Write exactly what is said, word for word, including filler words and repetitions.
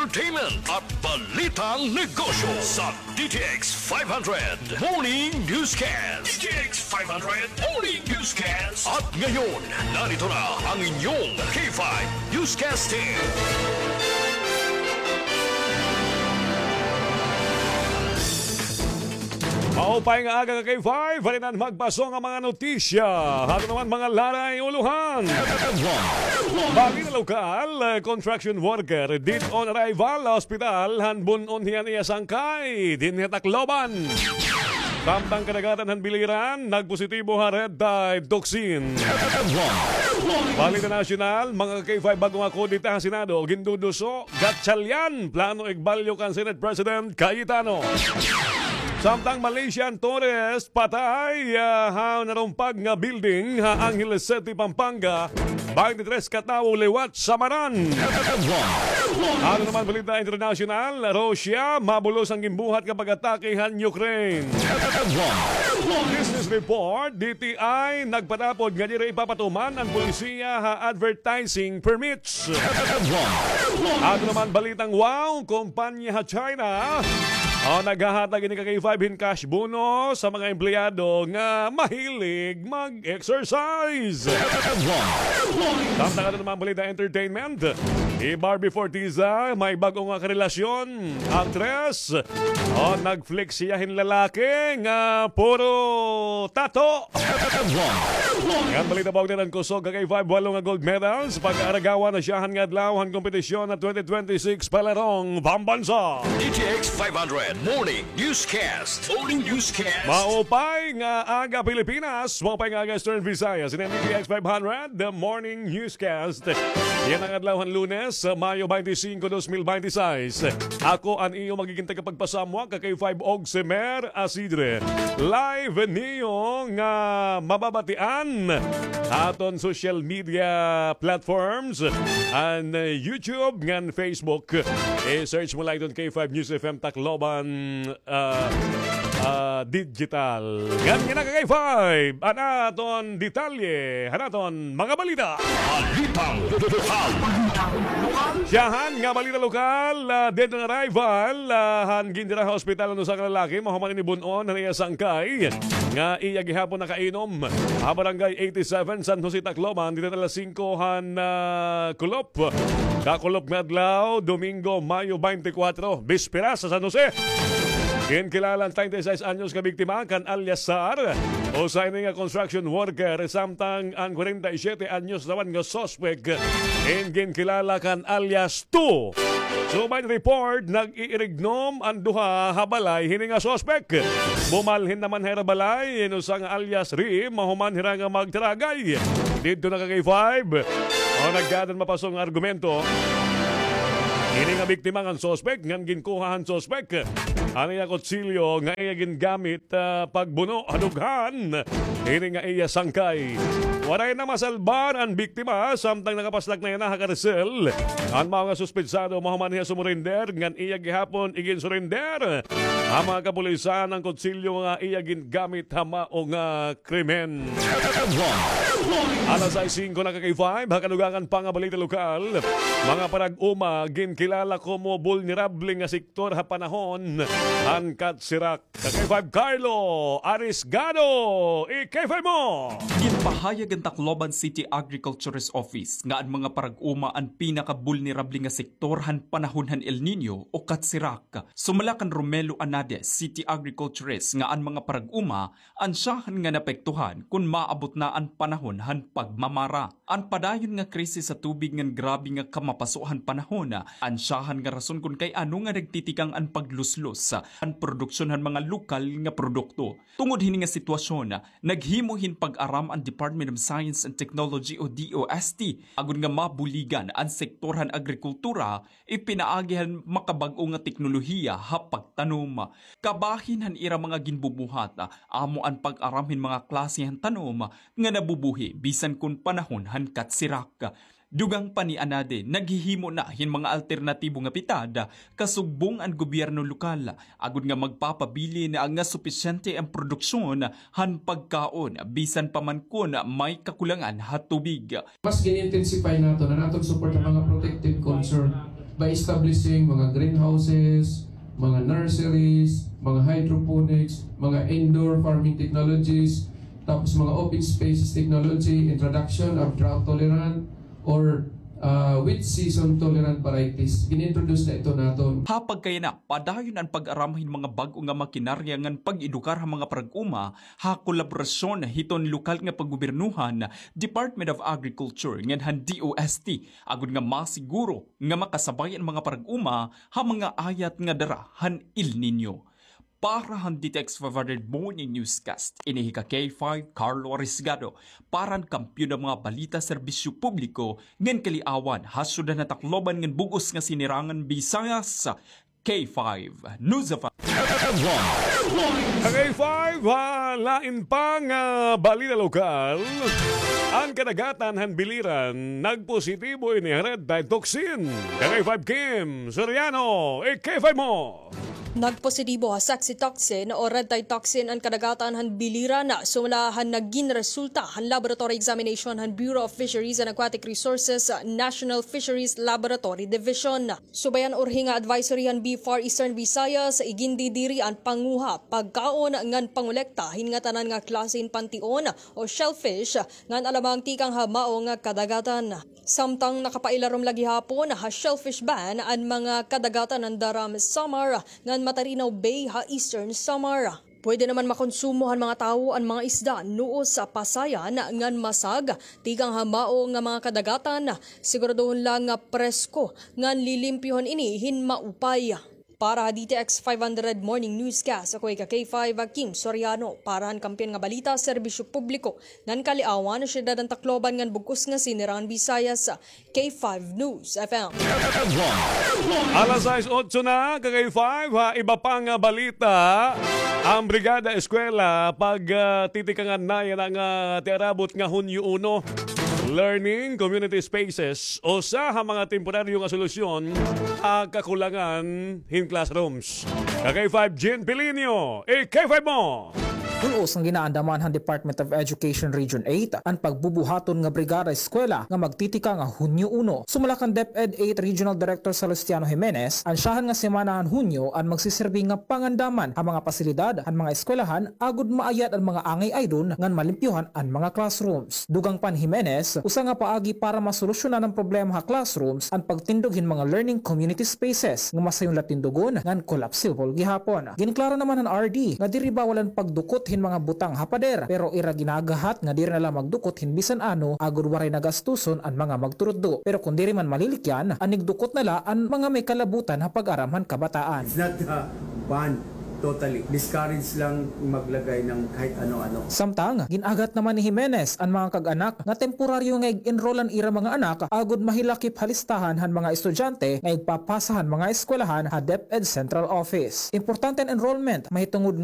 entertainment at balitang negosyo sa D T X five hundred Morning Newscast. D T X five hundred Morning Newscast. At ngayon, narito na ang inyong K five Newscast Team. Maupay nga aga ka K five, halinan magpaso nga mga notisya. Ato naman mga laray ulohan. Balita lokal, construction worker dead on arrival ha ospital han bun-on hiya niya sangkay dinhi ha Tacloban. Samtang kadagatan han Biliran nagpositibo ha red tide toxin. Balita nasyonal, mga K five, bag-o nga kudeta ha Senado, ginduduso, Gatchalian, plano igbalyo kan Senate President Cayetano. Samtang Malaysian tourist patay, ah, ha narumpag nga building ha Angeles City, Pampanga, twenty-three ka tawo liwat sa maran. Ano naman balita internasyonal, Russia, mabulos an ginbuhat nga pag-atake han Ukraine. Business report, D T I, nagpatapod nga diri ipapatuman an polisiya ha advertising permits. Ato naman balitang wow, kumpanya ha China, o, naghahatag ini ka K five hin cash bonus sa mga empleyado nga mahilig mag-exercise. Samtang ato naman balita entertainment, hi Barbie Forteza may bag-o nga karelasyon, aktres. O, nag-flex hiya hin lalaki nga puro tato. Ngan balita pa, ugdan an kusog ka K five, walo nga gold medals pag-aaragawan ha syahan nga adlaw han kompetisyon ha twenty twenty-six Palarong Pambansa. D T X five hundred Morning Newscast. Morning Newscast. Maupay nga aga, Pilipinas. Maupay nga aga, Eastern Visayas. Ini an D T X five hundred, The Morning Newscast. Yana nga adlaw han Lunes, Mayo twenty-five, dos mil twenty-six. Ako an iyo magiging tagapagpasamwak, ka K five, Ogsemer Asidre. Live niyo nga mababatian ha aton social media platforms, an, uh, YouTube ngan Facebook. I-search mo la iton K five News F M Tacloban, ah, ah, Digital. Ngan yana ka K five, an aton detalye han aton mga balita. Balitang lokal. Syahan nga balita lokal, ah, dead on arrival, ah, han gindira ha ospital an usa ka lalaki, mahuman ini bun-on han iya sangkay nga iya gihapon nakainom ha Barangay eighty-seven, San Jose, Tacloban, dida alas singko han, ah, kulop. Kakulop nga adlaw, Domingo, Mayo twenty-four, bisperas ha San Jose. Ginkilala an treinta y seis anyos nga biktima kan alias Sar, usa ini nga construction worker, samtang an kwarenta y siyete anyos naman nga suspek in ginkilala kan alias Two. Subay report, nag-iirignom an duha ha balay hini nga suspek. Bumalhin naman ha ira balay in usa nga alias Ri, mahuman hira nga magtaragay. Didto na ka K five. O, nagkaadan mapaso nga argumento ini nga biktima ngan suspek, ngan ginkuha han suspek an iya kutsilyo nga iya gingamit, ah, pagbuno ha dughan hini nga iya sangkay. Waray na masalbar an biktima, samtang nakapaslak na yana ha karsel. An mao nga suspetsado, mahuman hiya sumurender, ngan iya gihapon iginsurender ha mga kapulisan an kutsilyo nga iya gingamit ha mao nga krimen. Alas sais singko na ka K five, ha kadugangan pa nga balita lokal. Mga parag-uma, ginkilala komo bulnerable nga sektor ha panahon han katsirak. Ka K five Carlo Arisgado, i-K five mo! Ginpahayag han Tacloban City Agriculturist Office nga an mga parag-uma an pinakabulnerable nga sektor han panahon han El Niño o katsirak. Sumala kan Romelo Anades, City Agriculturist, nga an mga parag-uma an syahan nga naapektuhan kon maabot na an panahon han pagmamara. An padayon nga krisis sa tubig ngan grabe nga kamapaso han panahon an syahan nga rason kon kay ano nga nagtitikang an pagluslos han produksyon han mga lokal nga produkto. Tungod hini nga sitwasyon, naghimo hin pag-aram an Department of Science and Technology o D O S T agod nga mabuligan an sektor han agrikultura ipinaagi han makabag-o nga teknolohiya ha pagtanom. Kabahin han ira mga ginbubuhat, amo an pag-aram hin mga klase han tanom nga nabubuhi bisan kon panahon han katsirak. Dugang pa ni Anade, naghihimo na hin mga alternatibo nga pitad kasugbong an gobyerno lokal agod nga magpapabilin nga supisyente an produksyon han pagkaon bisan pa man kon may kakulangan ha tubig. Mas gin-intensify naton an aton support ha mga protected concern. By establishing mga greenhouses, mga nurseries, mga hydroponics, mga indoor farming technologies, tapos mga open spaces technology, introduction of drought tolerant or, ah, wet season tolerant varieties. Gin-introduce na ito naton. Ha pagkayana, padayon an pag-aram hin mga bag-o nga makinarya ngan pag-edukar ha mga parag-uma ha kolaborasyon hiton lokal nga paggobyernohan, Department of Agriculture ngan han D O S T, agod nga masiguro nga makasabay an mga parag-uma ha mga ayat nga dara han El Niño. Para han D T X five hundred Morning Newscast, ini hi ka K five Carlo Arriesgado, para han Kampiyon nga mga Balita, Serbisyo Publiko ngan Kaliawan ha Syudad han Tacloban ngan bug-os nga Sinirangan Visayas, K five News F M. K five, ha lain pa nga balita lokal, an kadagatan han Biliran nagpositibo ini ha red tide toxin. K five Kim Soriano, eh, K five mo. Nagpositibo ha sexy toxin o red tide toxin an kadagatan han Biliran, sumala han nagin resulta han laboratory examination han Bureau of Fisheries and Aquatic Resources, National Fisheries Laboratory Division. Subay han urhi nga advisory han BFAR Eastern Visayas, igindidiri an panguha, pagkaon ngan pangolekta hin ngatanan nga klase hin pantion o shellfish ngan alamang tikang ha mao nga kadagatan. Samtang nakapailarom la gihapon ha shellfish ban an mga kadagatan han Daram, Samar ngan Matarinaw Bay ha Eastern Samar. Pwede naman makonsumo han mga tawo an mga isda nuos sa pasayan ngan masag tikang ha mao nga mga kadagatan. Siguraduhon la nga presko ngan lilimpyohon ini hin maupay. Para ha D T X five hundred Morning Newscast, ako hi ka K five, Kim Soriano. Para han Kampiyon nga Balita, Serbisyo Publiko ngan Kaliawan, Syudad han Tacloban ngan bug-os nga Sinirangan Visayas, K five News F M. Alas sais otso na, ka K five, ha iba pa nga balita, an Brigada Eskwela, pag, ah, titikangan na yana nga tiarabot nga Hunyo uno. Learning Community Spaces, usa ha mga temporaryo nga solusyon ha kakulangan hin classrooms. Ka K five Jean Pilinio, eh, K five mo! Bul-os nga ginaandaman han Department of Education Region eight an pagbubuhaton nga Brigada Eskwela nga magtitikang ha Hunyo uno. Sumala kan DepEd eight Regional Director Salustiano Jimenez, an syahan nga semana han Hunyo an magsisirbi nga pangandaman ha mga pasilidad han mga eskwelahan agod maayad an mga angay aydon ngan malimpyohan an mga classrooms. Dugang pa ni Jimenez, usa nga paagi para masolusyonan an problema ha classrooms an pagtindog hin mga learning community spaces nga masayon la tindugon ngan collapsible gihapon. Ginklaro naman han R D nga diri bawal an pagdukot hin mga butang ha pader, pero ira ginagahat nga diri na la magdukot hin bisan ano agod waray na gastuson an mga magturutdo. Pero kon diri man malilikyan, an igdukot na la an mga may kalabutan ha pag-aram han kabataan. It's not, uh, banned totally. Discourage lang maglagay ng kahit ano-ano. Samtang, gin-agat naman ni Jimenez an mga kag-anak nga temporaryo nga ig-enroll an ira mga anak agod mahilakip ha listahan han mga estudyante nga igpapasa han mga eskwelahan ha DepEd Central Office. Importante an enrollment, mahitungod nga